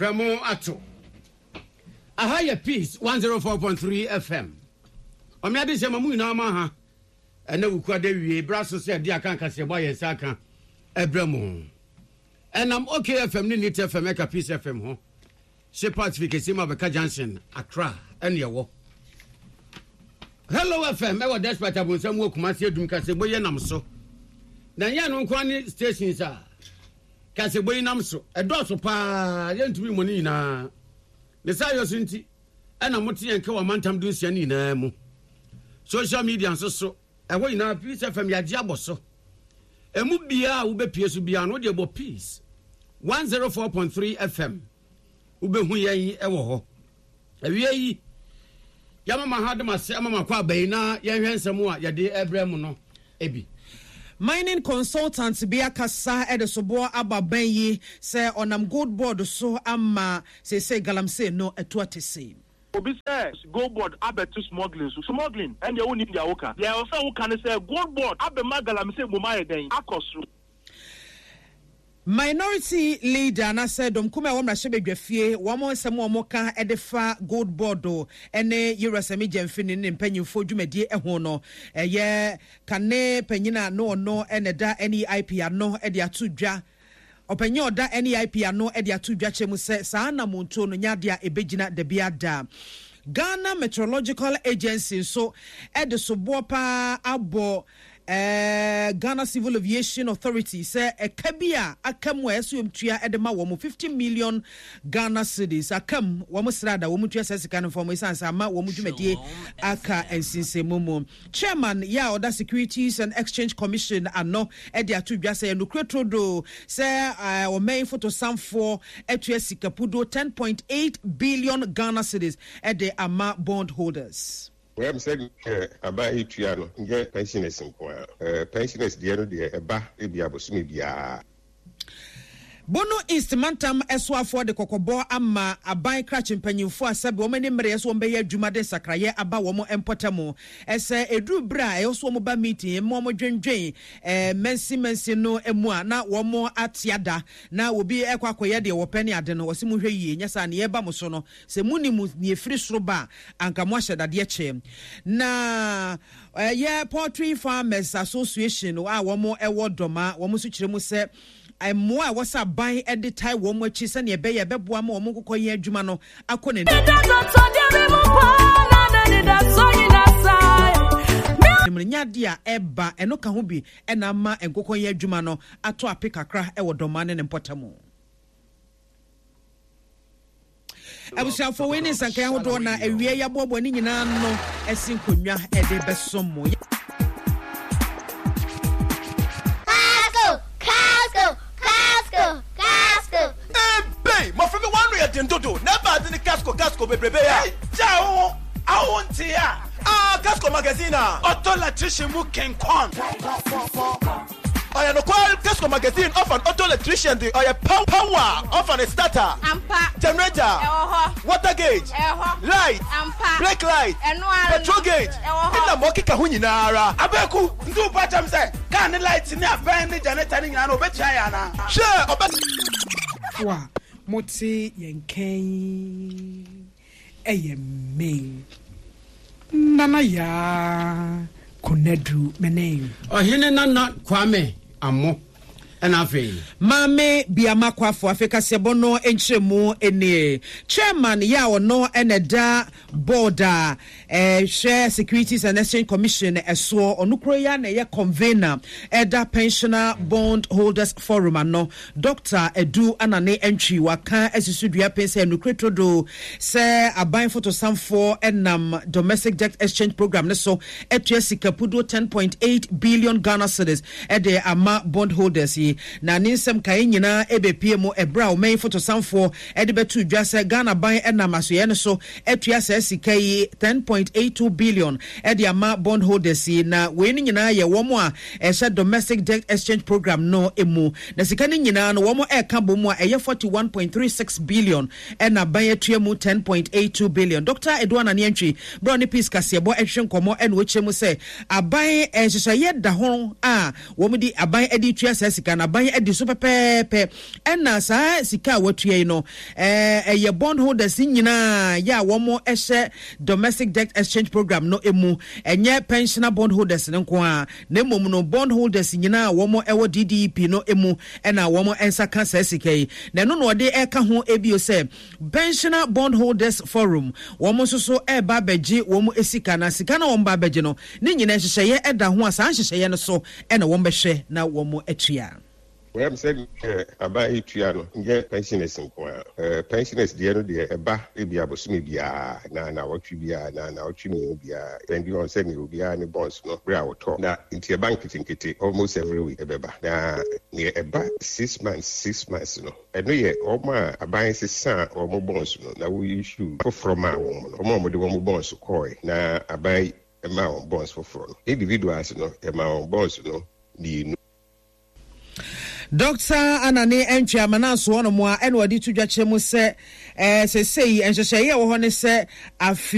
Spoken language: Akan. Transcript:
Prɛmo ato. Aha yɛ Peace 104.3 FM. Ɔme ade hyɛ ma mu nyinaa ma ha. Ɛnɛ wukua da wie bra so sɛ ɛde aka nkaseɛbɔ a yɛn nsa aka ɛbrɛ mo. Ɛnam OK FM ne Neat FM ɛka Peace FM ho. Shepherd's fi kɛseɛ mu abɛka Junction, Accra ɛne ɛwɔ. Hello FM ɛwɔ Despite Abonsam wɔ Kumasi Adum kaseɛbɔ yi nam so. Na ɛnyɛ ɛno nko ne stations a kaseɛbɔ yi nam so. Ɛdɔɔso paa yɛntumi mmɔ ne nyinaa. Ne saa yɛ so nti ɛna mote yɛn ka wɔ amantam dunsia no nyinaa mu. Social media nso so ɛhɔ nyinaa Peace FM yɛagye abɔ so. Emu biara a wobɛpie so biara no wodeɛ bɔ Peace 104.3 FM wobɛhu yɛn wɔ hɔ. Awie yi, yɛama ma ha de ma se ama ma kɔ aba yi na yɛnhwɛ nsɛm a yɛde ɛbrɛ mu no bi. Mining consultant bi akasa de soboɔ aba bɛn yi sɛ ɔnam gold board so ama seesei galamsey no atu atese. Obi sɛ gold board abɛto smuggling so. Smuggling? Ɛndeɛ wonnim deɛ woka. Deɛ ɛwɔ sɛ woka ne sɛ gold board abɛma galamsey mmom ayɛ dɛn? Akɔ soro. Minority leader anaasɛ dɔm kumaa a ɛwɔ mmarahyɛbadwafie, wɔn nsɛm a wɔka de fa Gold Board ne Yewura Sammy Gyamfi ne ne mpanyimfoɔ dwumadie ho no, ɛyɛ kane panyin a na ɔno na ɛda NEIP ano de ato dwa. Ɔpanyin a ɔda NEIP ano de ato dwa kyerɛ mu sɛ saa anamontuo no nyɛ adeɛ a ɛbɛgyina dabiara da. Ghana Meteorological Agency nso de soboɔ paa abɔ Ghana Civil Aviation Authority sɛ ɛka bi a aka mu a ɛsɛ wɔn tua de ma wɔn 50 million Ghana cedis aka mu wɔn srada wɔn tua saa sika no fam esiane sɛ ama wɔn dwumadie aka nsinsɛnmu mu. Chairman yɛ a ɔda Securities and Exchange Commission ano de ato dwa sɛ ɛnokorɛ turodoo sɛ ɔman fotosanfoɔ atua sika puduo 10.8 billion Ghana cedis de ama bond holders. Well sɛ deɛ aban yi tua no nyɛ pensioners nko ara. Pensioners deɛ no deɛ ɛba ebia bosome biara. Bono East mantam soafoɔ de kɔkɔbɔ ama aban krakye mpanyinfoɔ a sɛbe wɔn ani mmereɛ sɛ wɔn bɛyɛ adwuma de nsakraeɛ aba wɔn mpɔtam sɛ ɛduru berɛ a ɛwɔ sɛ wɔn ba meeting ma wɔn dwendwen mansin mansin no mu a na wɔn ate ada na obi ɛkɔ akɔyɛ deɛ wɔpɛ ne ade no wɔse monhwɛ yie nyɛ saa neɛ ɛba mo so no Sɛ monim nea ɛfiri soro ba a, anka moahyɛ dadeɛ kyɛ. Na ɛyɛ Poultry Farmers Association a wɔn wɔ Dɔma, wɔn nso kyerɛ mu sɛ mmoa a ɛwɔ sɛ aban de tae wɔn akyi sɛnea ɛbɛyɛ ɛbɛboa ma wɔn nkokɔ yɛn adwuma no akɔ n'anim. Nyɛ adeɛ a ɛba ɛno ka ho bi na ama nkokɔ yɛn adwuma no atɔ ape kakra wɔ Dɔma ne ne mpɔtam. Abusuafoɔ, wei ne nsankae ahodoɔ na awie yɛaboaboa ne nyinaa ano asi nkonnwa de bɛsom mo. Casco, Casco, Casco, Casco. Ebei! Mmɔfra bi wɔn ano yɛ den dodo na ɛba ade ne Casco Casco bebrebe a. Gyaa wo ho a wo ntee a. Ah Casco magazine a. Ɔtɔ electrician mu kenkɔn. Ɔyɛ nokwar, Casco magazine ɔfa n' auto electrician dze ɔyɛ power ɔfa ne starter, Ampa. generator, Ɛwɔ hɔ. water gauge, Ɛwɔ hɔ. light, Ampa. brake light, Ɛno ara no. petrol gauge, Ɛwɔ hɔ. nna ma ɔkeka ho nyinara. Abeku, nti wo pa kyɛm sɛ car ne light ne abɛn ne generator ne nyinaa no obetua yɛ anaa? Hwɛ ɔbɛ. Fo a mote yɛn nka yi ɛyɛ me Nana Yaa Konadu Mene. Ɔhene Nana Kwame Amoh ɛna afei. Maame Biama Kwafo afei kaseɛbɔ no nkyerɛmu nie. Chairman yɛ a ɔno na ɛda board a ɛhwɛ Securities and Exchange Commission soɔ, ɔno koro yi ara na ɛyɛ convener ɛda Pensioner Bond Holders Forum ano, Dɔkta Adu Anane Antwi waka asi so dua pen sɛ nokorɛ turodoo sɛ aban fotosanfoɔ nam Domestic Debt Exchange Programme no so atua sika puduo 10.8 billion Ghana cedis de ama bond holders yi. Na ne nsɛm kaeɛ nyinaa ɛbɛpue mu ɛberɛ a ɔman yi fotosanfoɔ de bɛtoo dwa sɛ Ghana aban nam asoɛeɛ no so atua saa sika yi 10.82 billion de ama bond holders yi. Na wei no nyinaa yɛ wɔn a ɛhyɛ Domestic Debt Exchange Programme no mu. Na sika no nyinaa no wɔn ɛka bɔ mu a ɛyɛ 41.36 billion ɛna aban atua mu 10.82 billion. Dɔkta Edu Anane Antwi berɛ a ɔne Peace Kaseɛbɔ ɛhwehwɛ nkɔmmɔ ɛna ɔkyerɛ mu sɛ aban nhyehyɛeɛ da ho a wɔn de aban de tua saa sika no. no aban adi so pɛpɛɛpɛ. Ɛna saa sika a wɔatua yi no, ɛyɛ bond holders nyinaa yɛ a wɔhyɛ domestic debt exchange program no mu, ɛnyɛ pensioner bond holders no nko ara, na mmom no bond holders nyinaa a wɔwɔ DDEP no mu na wɔn nsa ka saa sika yi. Na ɛno na ɔde ɛka ho bio sɛ Pensioner Bond Holders Forum wɔn nso so reba abɛgye wɔn sika, na sika no a wɔba abɛgye no, ne nyinaa nhyehyɛeɛ da ho a saa nhyehyɛeɛ no so na wɔbɛhwɛ na wɔatua. Well, sɛ deɛ aban yi tua no nyɛ pensioners nko ara. Pensioners deɛ no deɛ ɛba ebia bosome biara anaa naawɔtwe biara anaa naawɔtwe mmienu biara depending on sɛdeɛ obiara ne bonds no berɛ a wɔtɔ na nti ɛba nketenkete almost every week ɛbɛba. Na deɛ ɛba 6 months 6 months no ɛno yɛ wɔn a aban sesaa wɔn bonds no na wo issue foforɔ maa wɔn no, wɔn a wɔde wɔn bonds kɔɔe na aban maa wɔn bonds foforɔ no. Individuals no yɛmaa wɔn bonds no mmienu. Dɔkta Anane Antwi Amanaso hɔnom a ɛna ɔde to dwa kyerɛ mu sɛ ɛɛ sesei nhyehyɛeɛ a ɛwɔ hɔ ne sɛ afe.